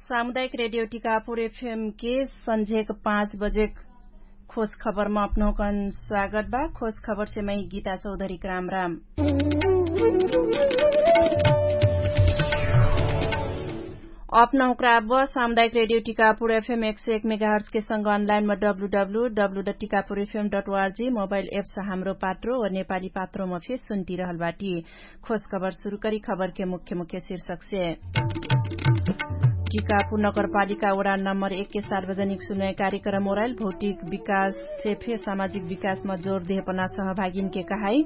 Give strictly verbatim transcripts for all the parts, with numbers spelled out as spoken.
सामुदायिक रेडियो टिकापुर एफएम के सन्झेक पाँच बजेक खोज खबरमा अपनहुँकन स्वागत बा। खोज खबरसे मै गीता चौधरीक राम राम। अपनहुँक्रा अब सामुदायिक रेडियो टिकापुर एफएम एक सय एक मेगाहर्चके सँग अनलाइनमा W W W dot Tikapur FM dot ORG mobile apps Hamro Patro व नेपाली पात्रोमा फे सुन्टिरहल बाटी। खोज खबर सुरु करी खबरके मुख्य मुख्य शीर्षकसे। टिकापुर नगरपालिका ओडा नम्बर एक के सार्वजनिक सुनवाई कार्यक्रम ओराइल भौतिक विकाससे फे सामाजिक विकासमा जोर देहपना सहभागीनके कहाई।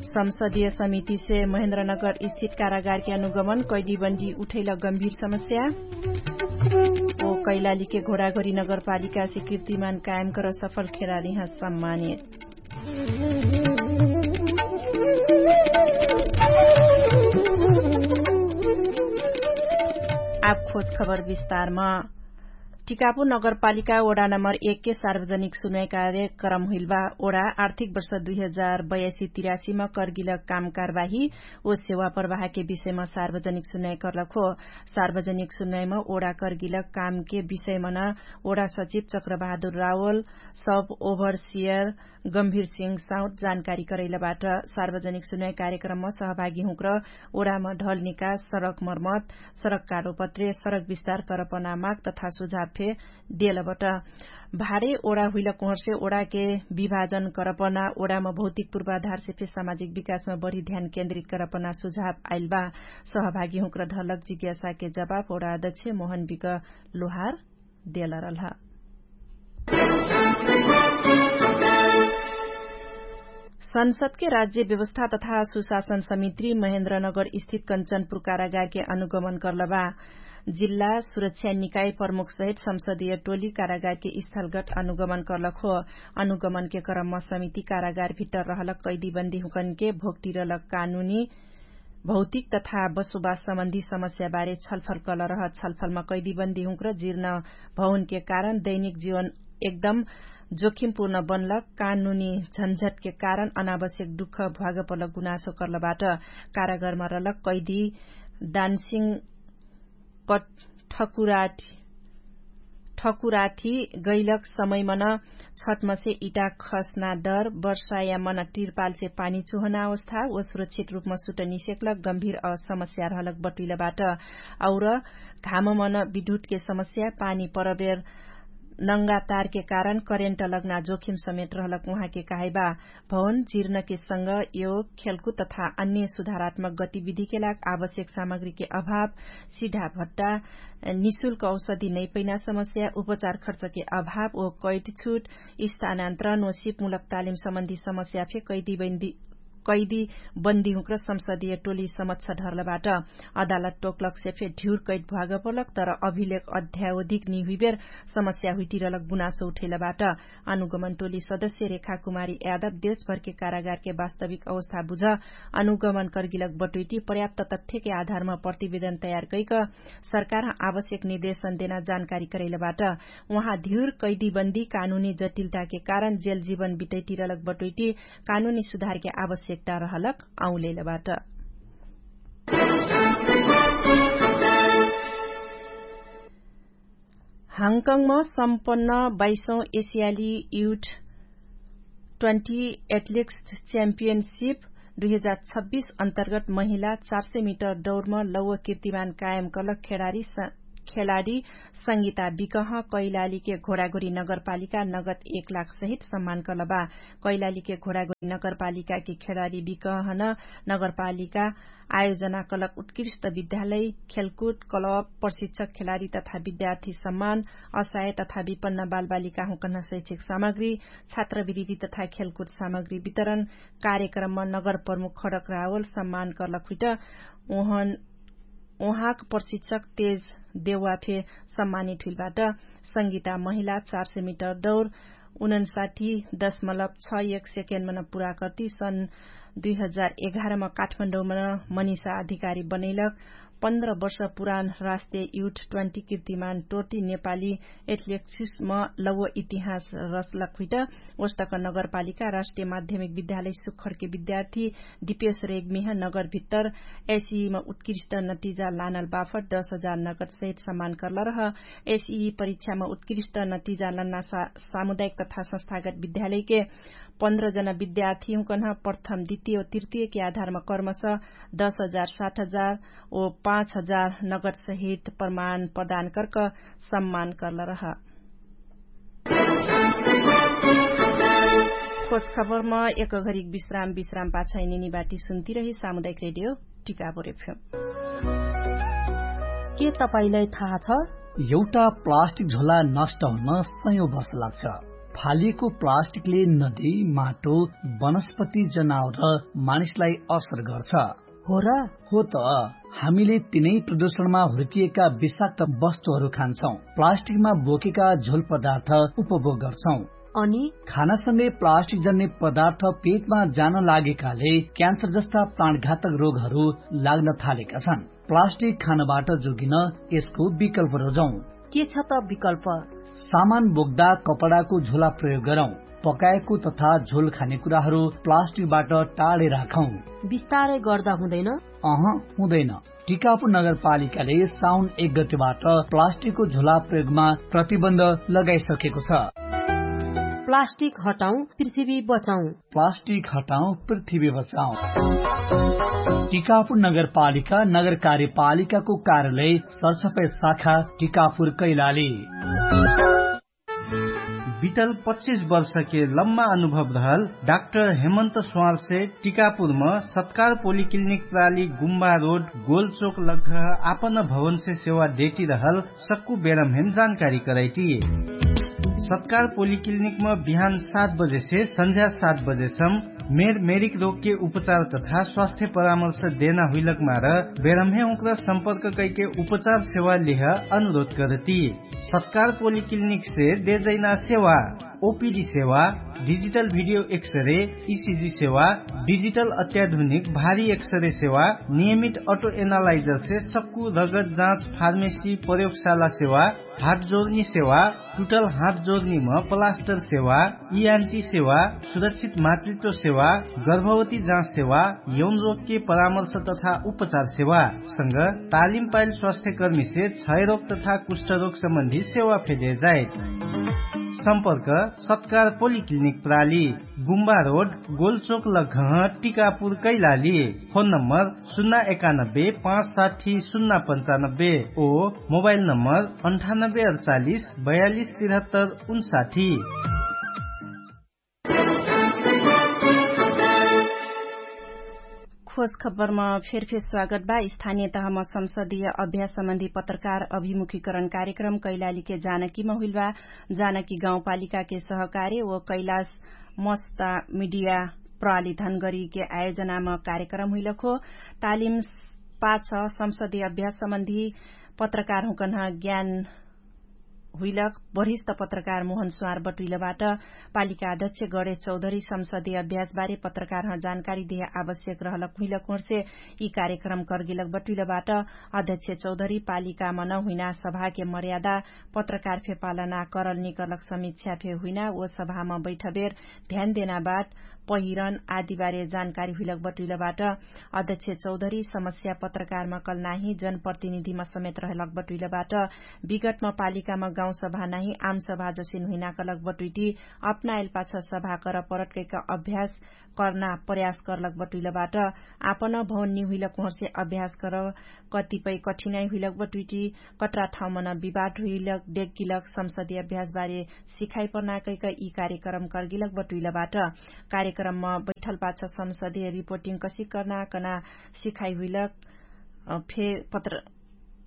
संसदीय समितिसे महेन्द्रनगर स्थित कारागारके अनुगमन कैदीबन्दी उठैल गम्भीर समस्या। ओ कैलालीके घोडाघोरी नगरपालिकासे कीर्तिमान कायम कर सफल खेरारीहाँ सम्मानित। आब खोज खबर विस्तारमा। टिकापुर नगरपालिका ओडा नम्बर एक के सार्वजनिक सुनवाई कार्यक्रम हुइलबा। ओडा आर्थिक वर्ष दुई हजार बयासी तिरासीमा कर्गिलक काम कारवाही ओ सेवा प्रवाहके विषयमा सार्वजनिक सुनवाई कर्लक हो। सार्वजनिक सुनवाईमा ओडा कर्गिलक कामके विषयमा न ओडा सचिव चक्रबहादुर रावल, सब ओभरसियर गम्भीर सिंह साउथ जानकारी करैलबाट। सार्वजनिक सुनवाई कार्यक्रममा सहभागी हुँक्र ओडामा ढल निकास सडक मर्मत, सडक कारोपत्रे सडक विस्तार करपना माग तथा सुझाव फे देलबाट। भारे ओडा हुइल कोहरसे ओडाके विभाजन करपना ओडामा भौतिक पूर्वाधारसे फे सामाजिक विकासमा बढी ध्यान केन्द्रित करपना सुझाव आइलबा। सहभागी हुँक्र ढलक जिज्ञासाके जवाफ ओडा अध्यक्ष मोहन बिक लोहार देलरलह। संसदके राज्य व्यवस्था तथा सुशासन समित्री महेन्द्रनगर स्थित कन्चनपुर कारागारके अनुगमन कर्लबा। जिल्ला सुरक्षा निकाय प्रमुखसहित संसदीय टोली कारागारके स्थलगट अनुगमन कर्लक हो। अनुगमनके क्रममा समिति कारागार भित्तर रहलक कैदीबन्दीहुँकनके भोक्टिरलक कानुनी भौतिक तथा बसोबास सम्बन्धी समस्याबारे छलफल कलरह। छलफलमा कैदीबन्दीहुँक्र जिर्न भौनके कारण दैनिक जीवन एकदम जोखिमपूर्ण बनलक कानुनी झन्झटके कारण अनावश्यक दुःख भ्वागपलक गुनासो कर्लबाट। कारागारमा रलक कैदी दानसिङ कठकुराठी ठकुराठी गैलक समयमन छटमसे इटा खस्ना दर वर्षायामन टिरपालसे पानी चुहना अवस्था ओ सुरक्षित रूपमा सुट निसेक्लक गम्भीर समस्या रहलक बटुइलबाट। और घाममन विद्युतके समस्या पानी परबेर नङ्गातारके कारण करेन्ट लग्ना जोखिम समेत रहलक उहाँके कहाइबा। भवन जिर्नके संग यो खेलकुद तथा अन्य सुधारात्मक गतिविधिके लाग आवश्यक सामग्रीके अभाव, सिधा भट्टा, निशुल्क औषधि नैपैना समस्या उपचार खर्चके अभाव ओ कैट छुट स्थानान्तरण ओ सिपमुलक तालिम सम्बन्धी समस्या फे कैदी बन्दी कैदी बन्दी हुँक्र संसदीय टोली समक्ष ढर्लबाट। अदालत टोक्लकसे फे ढ्युर कैद भ्वागपलक तर अभिलेख अध्यावधिक निहुइबेर समस्या हुइटिरलक गुनासो उठैलबाट। अनुगमन टोली सदस्य रेखा कुमारी यादव देशभरके कारागारके वास्तविक अवस्था बुझ अनुगमन कर्गिलक बटुइटी पर्याप्त तथ्यके आधारमा प्रतिवेदन तयार कैक सरकार आवश्यक निर्देशन देना जानकारी करैलबाट। उहाँ धिउर कैदीबन्दी कानुनी जटिलताके कारण जेल जीवन बिटैटिरलक बटुइटी कानुनी सुधारके आवश्यकता रहलक औलेलबाट। हाङकङमा सम्पन्न बाइसौँ एसियाली युथ ट्वेन्टी एथलिक्स च्याम्पियनसिप दुई हजार छब्बिस अन्तर्गत महिला चार सय मिटर दौडमा लौव किर्तिमान कायम कलक खेडारी संगीता बिकह कैलालीके घोडाघोरी नगरपालिका नगद एक लाख सहित सम्मान कलबा। कैलालीके घोडाघोरी नगरपालिकाके खेडारी बिकहन नगरपालिका आयोजना कलक उत्कृष्ट विद्यालय खेलकुद कलब प्रशिक्षक खेलाडी तथा विद्यार्थी सम्मान असहाय तथा विपन्न बालबालिकाहुँकन शैक्षिक सामग्री छात्रवृत्ति तथा खेलकुद सामग्री वितरण कार्यक्रममा नगर प्रमुख खडक रावल सम्मान कर्लक हुइट उहाँक प्रशिक्षक तेज देवा फे सम्मानित हुइलबाट। संगीता महिला चार सय मिटर दौर उनन्साठी दशमलब छ एक सेकेन्डमा न पुरा कर्ति सन् दुई हजार एघारमा काठमाडौमा मनिषा अधिकारी बनैलक। पन्ध्र वर्ष पुरान राष्ट्रिय युट ट्वेन्टी कीर्तिमान टोर्टी नेपाली एथलेटिक्समा लौव इतिहास रचलक हुइट। ओस्तक नगरपालिका राष्ट्रिय माध्यमिक विद्यालय सुखरके विद्यार्थी दिपेश रेग्मिह नगरभित्तर एसिमा उत्कृष्ट नतिजा लानल बाफट दश हजार नगरसहित सम्मान कर्लरह। एसिई परीक्षामा उत्कृष्ट नतिजा लन्ना सामुदायिक तथा संस्थागत विद्यालयके पन्ध्र जना विद्यार्थी हुँकन्ह प्रथम द्वितीय तृतीयके आधारमा कर्मस दश हजार सात हजार ओ पाँच हजार नगदसहित प्रमाण प्रदान कर्क सम्मान कर्लरह। खोज खबरमा एक घरिक विश्राम विश्राम पाछै निनी बाटी सुन्ती रही सामुदायिक रेडियो टिकापुर एफएम। के तपाईंलाई थाहा छ? एउटा प्लास्टिक झोला नष्ट हुन सयौं वर्ष लाग्छ। फालिएको प्लास्टिकले नदी, माटो, वनस्पति, जनावर र मानिसलाई असर गर्छ। हो र? हो त। हामीले तिनै प्रदूषणमा हुर्किएका विषाक्त वस्तुहरू खान्छौं, प्लास्टिकमा बोकेका झोल पदार्थ उपभोग गर्छौं। अनि खानासँगै प्लास्टिक जन्ने पदार्थ पेटमा जान लागेकाले क्यान्सर जस्ता प्राणघातक रोगहरू लाग्न थालेका छन्। प्लास्टिक खानबाट जोगिन यसको विकल्प रोजौं। के छ त विकल्प? सामान बोक्दा कपडाको झोला प्रयोग गरौं। पकाएको तथा झोल खाने कुराहरू प्लास्टिकबाट टाढे राखौं। बिस्तारै गर्दा हुँदैन? अह, हुँदैन। टिकापुर नगरपालिकाले साउन एक गतेबाट प्लास्टिकको झोला प्रयोगमा प्रतिबन्ध लगाइसकेको छ। प्लास्टिक हटाउँ, पृथ्वी बचाउँ। प्लास्टिक हटाउँ, पृथ्वी बचाउँ। टिकापुर नगरपालिका नगर कार्यपालिकाको कार्यालय सरसफाइ शाखा टिकापुर कैलाली। बितल पच्चिस वर्षके लम्बा अनुभव रहल डाक्टर हेमन्त स्वारसे टिकापुरम सत्कार पोलिक्लिनिक प्राली गुम्बा रोड गोलचोक लग्घ आपन भवनसे सेवा देटी रहल सक्कु बेरमहेम जानकारी करैटी। सत्कार पोलिक्लिनिकम बिहान सात बजेसे संझ्या सात बजेसम मेर मेरिक रोगके उपचार तथा स्वास्थ्य परामर्श देना हुइलक मार बेरमहे उक्र सम्पर्क कैके उपचार सेवा लिह अनुरोध करती। सत्कार पोलिक्लिनिकसे देजैना सेवा ओपिडी सेवा, डिजिटल भिडियो एक्सरे, इसिजी सेवा, डिजिटल अत्याधुनिक भारी एक्सरे सेवा, नियमित अटो एनालाइजरसे सक्कु रगत जाँच फार्मेसी प्रयोगशाला सेवा, हात जोर्नी सेवा, टुटल हात जोर्नीम प्लास्टर सेवा, इआन्टी सेवा, सुरक्षित मातृत्व सेवा, गर्भवती जाँच सेवा, यौन रोगके परामर्श तथा उपचार सेवा संग तालिम पाइल स्वास्थ्यकर्मीसे क्षयरोग तथा कुष्ठरोग सम्बन्धी सेवा फेदेजाइत। सम्पर्क सत्कार पोलिक्लिनिक प्राली, गुम्बा रोड, गोलचोक लग्घह, टिकापुर कैलाली। फोन नम्बर सुन्ना एकानब्बे पाँच साठी सुन्ना पन्चानब्बे ओ मोबाइल नम्बर अन्ठानब्बे अडचालिस बयालिस तिरहत्तर उन्साठी। खोज खबरमा फेरफेर स्वागत बा। स्थानीय तहमा संसदीय अभ्यास सम्बन्धी पत्रकार अभिमुखीकरण कार्यक्रम कैलालीके जानकीमा हुइल बा। जानकी गाउँपालिकाके सहकार्य ओ कैलाश मस्ता मिडिया प्रहली धनगरीके आयोजनामा कार्यक्रम हुइलक हो। तालिम पाछ संसदीय अभ्यास सम्बन्धी पत्रकार हुँकन्ह ज्ञान हुइलक वरिष्ठ पत्रकार मोहन स्वार बटुइलबाट पालिका अध्यक्ष गणेश चौधरी संसदीय अभ्यासबारे पत्रकारह जानकारी देह आवश्यक रहलक हुइलक होर्से यि कार्यक्रम कर्गिलक बटुइलबाट अध्यक्ष चौधरी पालिकामा नहुइना सभाके मर्यादा पत्रकार फे पालना करल निकर्लक समीक्षा फे हुइना ओ सभामा बैठबेर ध्यान देना बाद पहिरन आदिबारे जानकारी हुइलक बटुइलबाट अध्यक्ष चौधरी समस्या पत्रकारमा कल नाही जनप्रतिनिधिमा समेत रहलक बटुइलबाट विगतमा पालिकामा गाउँसभा नाही आमसभा जसिन हुइना कलक बटुइटी अपनाएल पाछ सभा कर परटकैक अभ्यास कर्ना प्रयास कर्लक बटुइलबाट आपन भौन्नी हुइलक होर्से अभ्यास कर कतिपय कठिनाइ हुइलक बटुइटी कटरा ठाउँमन विवाद हुइलक डेग्गिलक संसदीय अभ्यासबारे सिखाइ पर्नाकैक यि कार्यक्रम कर्गिलक बटुइलबाट कार्यक्रममा बैठल पाछ संसदीय रिपोर्टिङ कसिक कर्ना कना सिखाइ हुइलक फे पत्र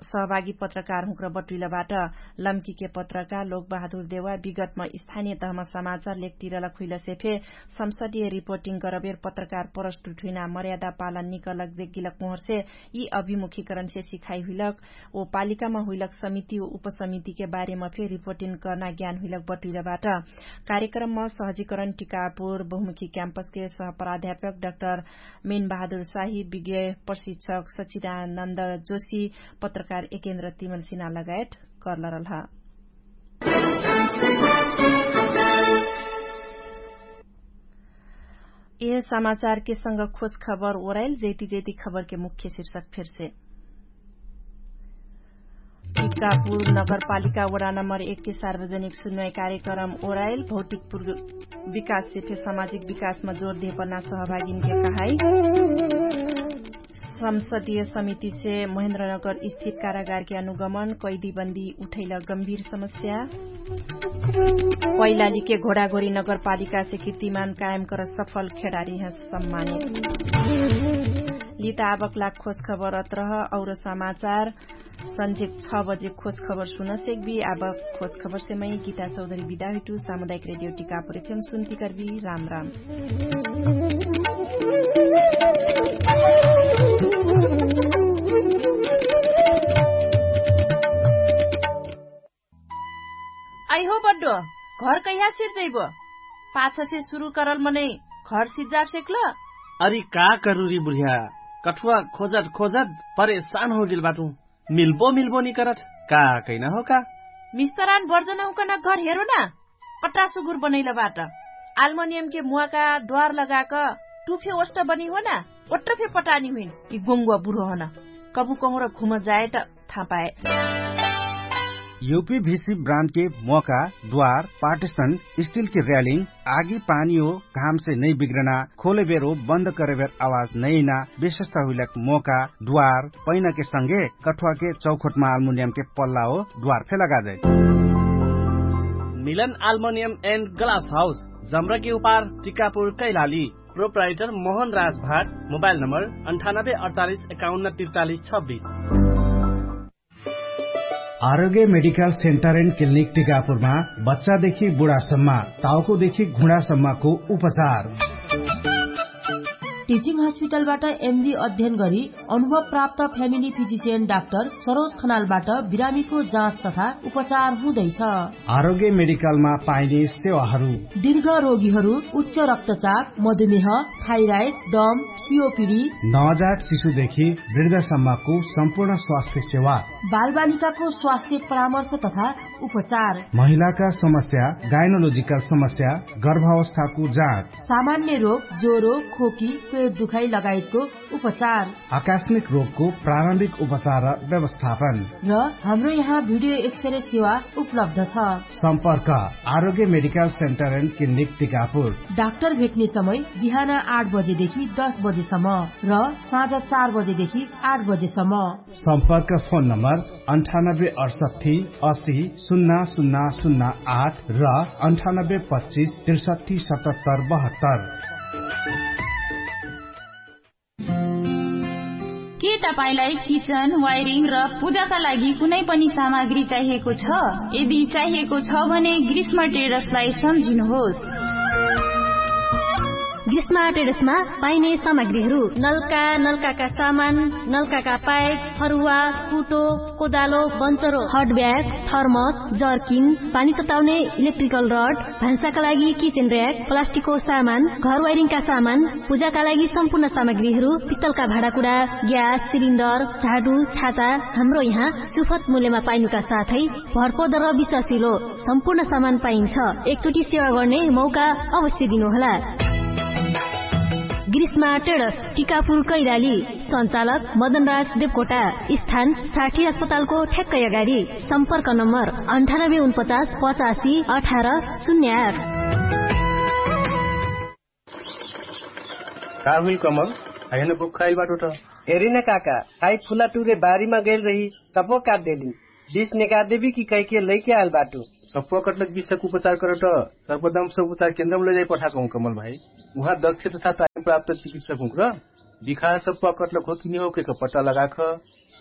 सहभागी पत्रकारहुँक्र बटुइलबाट। लम्कीके पत्रकार लोकबहादुर देवा विगतम स्थानीय तहम समाचार लेखतिरलक हुइलसे फे संसदीय रिपोर्टिङ गरबेर पत्रकार प्रस्तुत हुइना मर्यादा पालन निकलक देगिलक मोहरसे यि अभिमुखीकरणसे सिखाइ हुइलक ओ पालिकाम हुइलक समिति ओ उपसमितिके बारेम फे रिपोर्टिङ कर्ना ज्ञान हुइलक बटुइलबाट। कार्यक्रमम सहजीकरण टिकापुर बहुमुखी क्याम्पसके सहप्राध्यापक डाक्टर मेन बहादुर साही विज्ञ प्रशिक्षक सचिदानन्द जोशी पत्रकार एकेन्द्र तिमल सिना लगायत कर्लरलह। यह समाचारके संग खोज खबर ओराइल जैती जैती खबरके मुख्य शिर्षक फेरसे। टिकापुर नगरपालिका वडा नम्बर एक के सार्वजनिक सुन्वय कार्यक्रम ओराइल भौतिक विकाससे फे सामाजिक विकासमा जोर देहपर्ना सहभागीनके कहाई। संसदीय समितिसे महेन्द्रनगर स्थित कारागारके अनुगमन कैदीबन्दी उठैल गम्भीर समस्या। पैलालीके घोडाघोरी नगरपालिकासे किर्तिमान कायम कर सफल खेडारी हँ सम्मानित। लिता आबक लाग खोज खबर अत्रह और समाचार संझेक छ बजे खोज खबर सुन सेक्बी। आबक खोज खबरसे मै गीता चौधरी बिदा हुइटु। सामुदायिक रेडियो टिकापुर एफएम सुन्ती करबी। राम राम। अइहो बड्डो, घर कैहा सिर्जैबो? पाछसे सुरु करल मनै घर सिर्जार सेक्ल? अरि का करुरी बुढिया, कठुवा खोजत खोजत परेशान होगेल बाटु। मिल्बो मिल्बो निकरत का कैना हो का? मिस्तरान बर्जनहुँकन घर हेरो ना। पट्टा सुगुर बनैल बाट। आल्मनियमके मुवाका द्वार लगाक टुफे ओष्ट बनी हो ना। ओट्रफे पटानी हुइन कि गोङ्गुवा बुढो हन। कबु कहुँर घुम जाएट थापाए। युपी भिसी ब्रान्डके मोका द्वार पार्टिसन स्टिलके र्यालिङ आगी पानी हो घामसे नै बिग्रना खोलेबेरो बन्द करेबेर आवाज नैना विशेषता हुइलक मोका द्वार पैनाके संगे कठुवाके चौखोटमा आल्मुनियमके पल्ला हो द्वार फे लगाजै। मिलन आल्मुनियम एन्ड ग्लास हाउस जम्रकी उपार टिकापुर कैलाली। प्रोप्राइटर मोहन राजभाट। मोबाइल नम्बर अन्ठानब्बे अडचालिस एकाउन्न तिरचालिस छब्बिस। आरोग्य मेडिकल सेन्टर एन्ड क्लिनिक टिकापुरमा बच्चादेखि बुढासम्म, टाउकोदेखि घुँडासम्मको उपचार। टिचिङ हस्पिटलबाट एमबी अध्ययन गरी अनुभव प्राप्त फ्यामिली फिजिसियन डाक्टर सरोज खनालबाट बिरामीको जाँच तथा उपचार हुँदैछ। आरोग्य मेडिकलमा पाइने सेवाहरू। दीर्घ रोगीहरू उच्च रक्तचाप, मधुमेह, थाइराइड, दम, सियोपिडी, नवजात शिशुदेखि वृद्धसम्मको सम्पूर्ण स्वास्थ्य सेवा। बालबालिकाको स्वास्थ्य परामर्श तथा उपचार। महिलाका समस्या, गाइनोलोजिकल समस्या, गर्भावस्थाको जाँच। सामान्य रोग, ज्वरो, खोकी, पेट दुखाइ लगायतको उपचार। आकस्मिक रोगको प्रारम्भिक उपचार र व्यवस्थापन। र हाम्रो यहाँ भिडियो एक्सरे सेवा उपलब्ध छ। सम्पर्क आरोग्य medical centre and clinic Tikapur. Doctor भेट्ने समय बिहान आठ बजेदेखि दस बजेसम्म र साँझ चार बजेदेखि आठ बजेसम्म। सम्पर्क फोन नम्बर अन्ठानब्बे अडसट्ठी असी सुन्ना सुन्ना सुन्ना आठ र अन्ठानब्बे पच्चिस त्रिसट्ठी सतहत्तर बहत्तर। के तपाईंलाई किचन वायरिङ र पूजाका लागि कुनै पनि सामग्री चाहिएको छ? यदि चाहिएको छ भने ग्रीष्म ट्रेडर्सलाई सम्झिनुहोस्। ग्रीष्म ट्रेडर्समा पाइने सामग्रीहरू नल्का, नल्काका सामान, नल्काका पाइप, फरुवा, कुटो, कोदालो, बन्चरो, हट ब्याग, थर्मस, जर्किन, पानी तताउने इलेक्ट्रिकल रड, भान्साका लागि किचेन र्याक, प्लास्टिकको सामान, घर वाइरिङका सामान, पूजाका लागि सम्पूर्ण सामग्रीहरू, पित्तलका भाँडाकुडा, ग्यास सिलिन्डर, झाडु, छाता, हाम्रो यहाँ सुफत मूल्यमा पाइनुका साथै भरपर्दर विश्वासिलो सम्पूर्ण सामान पाइन्छ। एकचोटि सेवा गर्ने मौका अवश्य दिनुहोला। ग्रीष्मा ट्रेडर्स, टिकापुर कैराली। सञ्चालक मदनराज देवकोटा। स्थान साठी अस्पतालको ठ्याक्कै अगाडि। सम्पर्क नम्बर अन्ठानब्बे उनपचास पचासी अठार शून्य आठ। का हुइल कमल? हैन बुक खाइल बाटो त। हेरिन काका, खाइ फुला टुरे बारीमा गइल रही, तपो काट देलिन। बिस नेका देबी कि कैके लैके आइल बाटो। सप्पो कटलक बिसक उपचार करट। सर्वदम सब उपचार केन्द्रम लैजाइ पठाकहुँ कमल भाइ। उहाँ दक्ष तथा तालिम प्राप्त चिकित्सक हुँक्र। बिखार सब पकटलक हो कि निहो के पट्टा लगाख।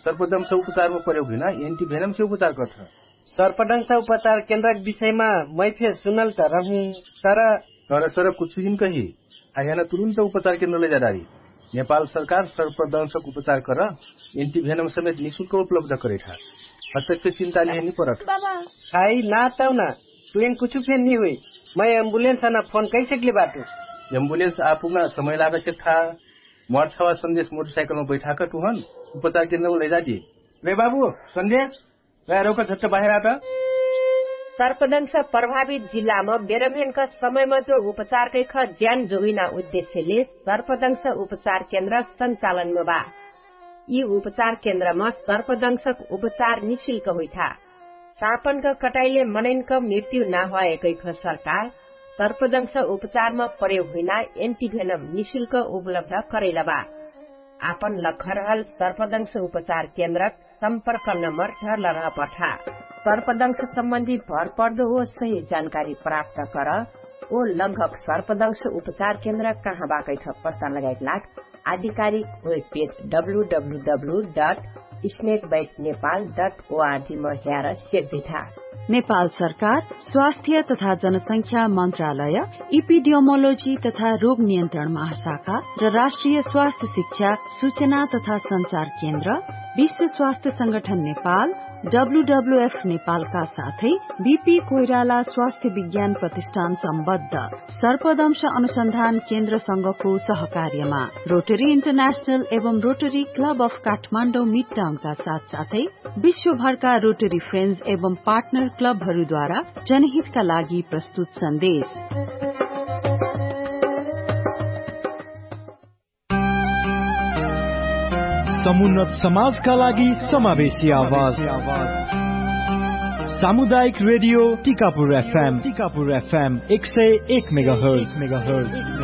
सर्पदंश उपचारमा प्रयोग हुइना एन्टिभेनम से उपचार कठ। सर्पदंश उपचार केन्द्रक विषयमा मै फेर सुनल त रहु, तर तर सर कुछु दिन कही, आह्याना तुरुन्त उपचार केन्द्र लैजाडारी। नेपाल सरकार सर्पदंशक उपचार कर एन्टिभेनम समेत निशुल्क उपलब्ध करैठा। हतक फेर चिन्ता लिहे निपरठ। बाबा, खाइ ना तौना, तुइन कुछु फेर निहुइ। मै एम्बुलेन्स अना फोन कैसेकले बाटु? एम्बुलेन्स आपुग्ना समय लाग सेक्ठा। मर्छवा सन्देश मोटरसाइकलमा बैठाक टुहन उपचार केन्द्रमा लैजादी। रे बाबु, सन्देश, रे रौका झट्ट बाहेर आत। सर्पदंश प्रभावित जिल्लामा बेरम्हेनका समयमा जो उपचारकैख ज्यान जोगिना उद्देश्यले सर्पदंश उपचार केन्द्र सञ्चालनमा बा। यि उपचार केन्द्रमा सर्पदंशक उपचार निशुल्क हुइठा। सापनक कटाइले मनैनक मृत्यु नाहुवाएकैख सरकार सर्पदंश उपचारमा प्रयोग हुइना एन्टिभेनम निशुल्क उपलब्ध करैलबा। आपन लखरहल सर्पदंश उपचार केन्द्रक सम्पर्क नम्बर झरलरह पठा। सर्पदंश सम्बन्धी भरपर्दो ओ सही जानकारी प्राप्त कर। ओ लगभग सर्पदंश उपचार केन्द्र कहाँ बाकैठ पत्ता लगाइट लाग आधिकारिक web page W W W dot snake bite Nepal dot O R G म ह्यार सेक्दिठा। नेपाल सरकार स्वास्थ्य तथा जनसंख्या मन्त्रालय, इपिडियोमोलोजी तथा रोग नियन्त्रण महाशाखा र राष्ट्रिय स्वास्थ्य शिक्षा सूचना तथा सञ्चार केन्द्र, विश्व स्वास्थ्य संगठन नेपाल, डब्लुडब्लुएफ नेपालका साथै बिपी कोइराला स्वास्थ्य विज्ञान प्रतिष्ठान सम्बद्ध सर्पदंश अनुसन्धान केन्द्रसँगको सहकार्यमा रोटरी इन्टरनेशनल एवं रोटरी क्लब अफ काठमाडौँ मिडटाउनका साथसाथै विश्वभरका रोटरी फ्रेन्ड्स एवं पार्टनर क्लबहरूद्वारा जनहितका लागि प्रस्तुत सन्देश। समुन्नत समाजका लागि समावेशी आवाज। सामुदायिक रेडियो टिकापुर एफएम, टिकापुर एफएम एक सय एक मेगाहर्ट्ज।